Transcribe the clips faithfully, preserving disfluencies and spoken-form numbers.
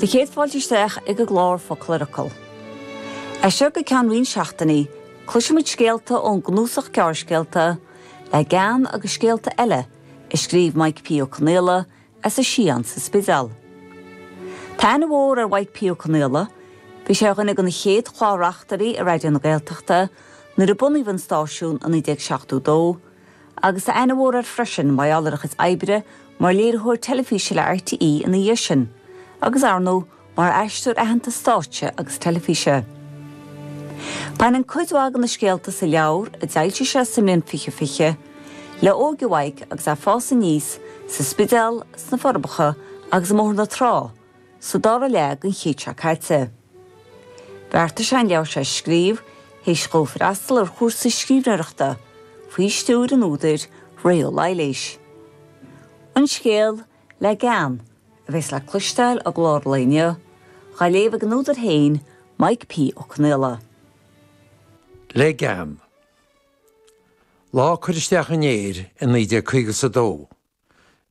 Tá céad fáilte isteach ag an gclár Focal ar Fhocal. As seo go ceann roinnt seachtainí, cloisfimid scéalta ón gcnuasach gearrscéalta Le Gean agus Scéalta Eile a scríobh Mike P. Ó Conaola as a shuíochán sa Spidéal. Tá aithne mhór ar Mike P. Ó Conaola, bhí sé ar dhuine de na chéad chlár-reachtairí ar Raidió na Gaeltachta nuair a bunaíodh an stáisiún i naoi déag seachtó dó, agus tá aithne mhór air freisin mar gheall ar a chuid oibre mar léiritheoir teilifíse le RTÉ ina dhiaidh sin, agus ar ndóigh mar aisteoir aitheanta stáitse agus teilifíse. Baineann cuid mhaith de na scéalta sa leabhar a d'fhoilsigh sé sa mbliain fiche fiche, le óige Mhaidhc agus é ag fás aníos sa Spidéal, sna Forbacha agus i mBóthar na Trá, sa dara leath den chéad seo caite. Bheartaigh sé an leabhar seo a scríobh théis dó freastal ar chúrsa scríbhneoireachta faoi stiúir an údair Ré Ó Laighléis. An scéal Le Gean a bheas le cloisteáil i gclár an lae inniu, á léamh ag an údar féin Mike P. Ó Conaola. Le Gean. Lá cur isteach an fhéir i naoi déag caoga is a dó,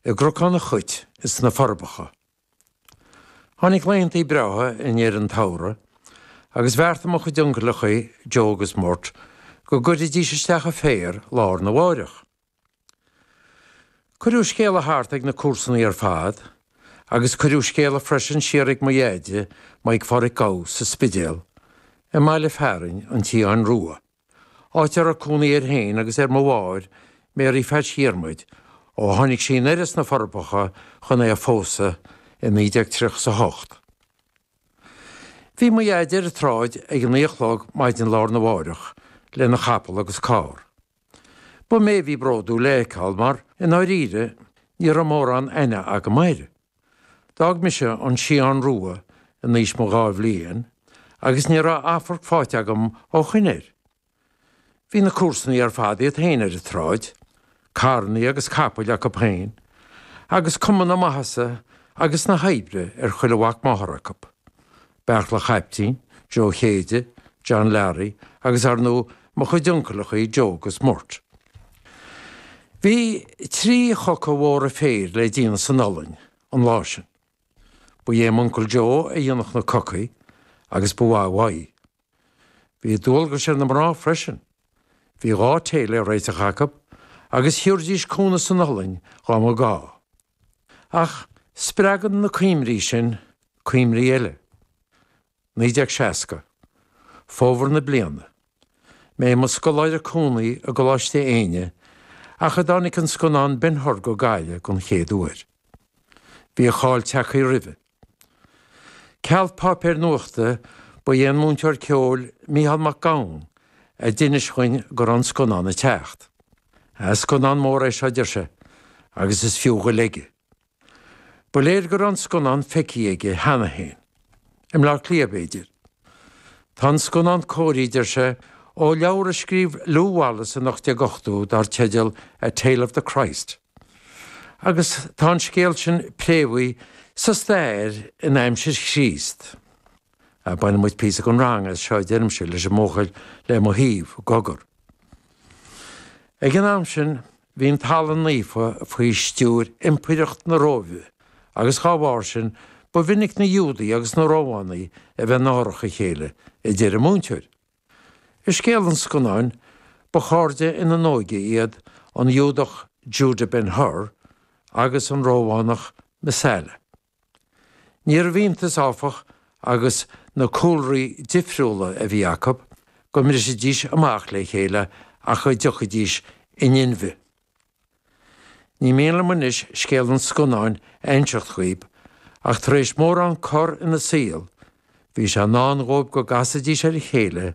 i gCnocán an Chait is sna Forbacha. Tháinig laethantaí breátha i ndeireadh an tsamhraidh agus bheartaigh mo chuid uncaileacha, Joe agus Murt, go gcuirfidís isteach an féar lá arna mháireach. Cuireadh scéala thart ag na comharsanaí ar fad agus cuireadh scéala freisin siar ag mo dheaide, Mike Pháraic Gow, sa Spidéal, i mbaile fearainn an tSiadháin Rua, áit a raibh cónaí air féin agus ar mo mháthair, Mary Pheaits Dhiarmuid, ó tháinig sí anoir as na Forbacha chun é a phósadh i naoi déag tríocha is a hocht. Bhí mo dheaide ar an tsráid ag a naoi a chlog maidin lá arna mháireach lena chapall agus carr. Ba mé a bhí bródúil é a fheiceáil mar, i ndáiríre, ní raibh mórán aithne agam air. D'fhág mise an Siadhán Rua in aois mo dhá bhliain agus ní raibh amharc faighte agam ó shoin air. Bhí na comharsanaí ar fad iad féin ar an tsráid, carrannaí agus capaill acu féin, agus cuma na maitheasa agus na hoibre ar chuile mhac máthar acu, Beartla Chaiptín, Joe Chéide, John Larry agus ar ndóigh mo chuid uncaileachaí Joe agus Murt. Bhí trí choca mhóra féir le déanamh san ollainn an lá sin. Ba é m'uncail Joe a dhéanfadh na cocaí agus ba mhaith uaidh. Bhí dualgais ar na mná freisin. Bhí dhá tae le réiteach acu agus thiúrfaidís cúnamh san ollainn dhá mba gá. Ach spreagann na cuimhní sin cuimhní eile. Naoi déag seasca. Fómhar na bliana. Mé i mo scoláire cónaí i gColáiste Éinne ach a dtáinig an scannán Ben Hur go Gaillimh don chéad uair. Bhí a cháil tagtha roimhe. Ceal páipéir nuachta ba é an múinteoir ceoil Mícheál Mac Gabhann a d'inis dhuinn go raibh an scannán ag teacht. Scannán mór é seo, a deir sé, agus is fiú dhul aige. Ba léir go raibh an scannán feicthe aige cheana féin. I mBleá Cliath, b'fhéidir. Tá an scannán cóirithe, deir sé, ó leabhar a scríobh Lew Wallace in ocht déag ochtó dar teideal A Tale of the Christ. Agus tá an scéal sin préamhaithe sa stair in aimsir Chríost. Bainfidh muid píosa den rang as seo, a deirimse leis an mbuachaill le mo thaobh, Gogar. Ag an am sin bhí an talamh naofa faoi stiúir Impireacht na Róimhe agus dhá bharr sin ba mhinic na Iúdaigh agus na Rómhánaigh a bheith náireach a chéile, a deir an múinteoir. I scéal an scannáin, ba chairde ina n-óige iad an Iúdach Judah Ben Hur agus an Rómhánach Messala. Níorbh iontas, áfach, agus na cúlraí difriúla a bhí acu, go mbrisfidís amach le chéile ach go dtiocfaidís in inmhe. Ní mian liom anois scéal an scannáin a inseacht dhaoib, ach tar éis mórán cor ina saol, bhí sé i ndán dhóibh go gcasfaidís ar a chéile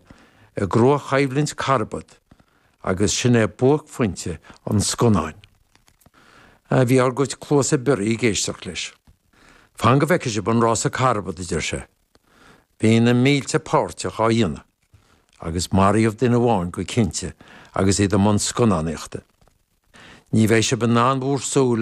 i gcrua-choimhlint carbad, agus sin é buaicphointe an scannáin. Bhí ár gcuid cluasa bioraí ag éisteacht leis. Fan go bhfeicfidh sibh an rása carbad, a deir sé. Bhí na mílte páirteach á dhéanamh, agus maraíodh duine amháin go cinnte agus iad i mbun scannánaíochta. Ní bheidh sibh in ann bhur súile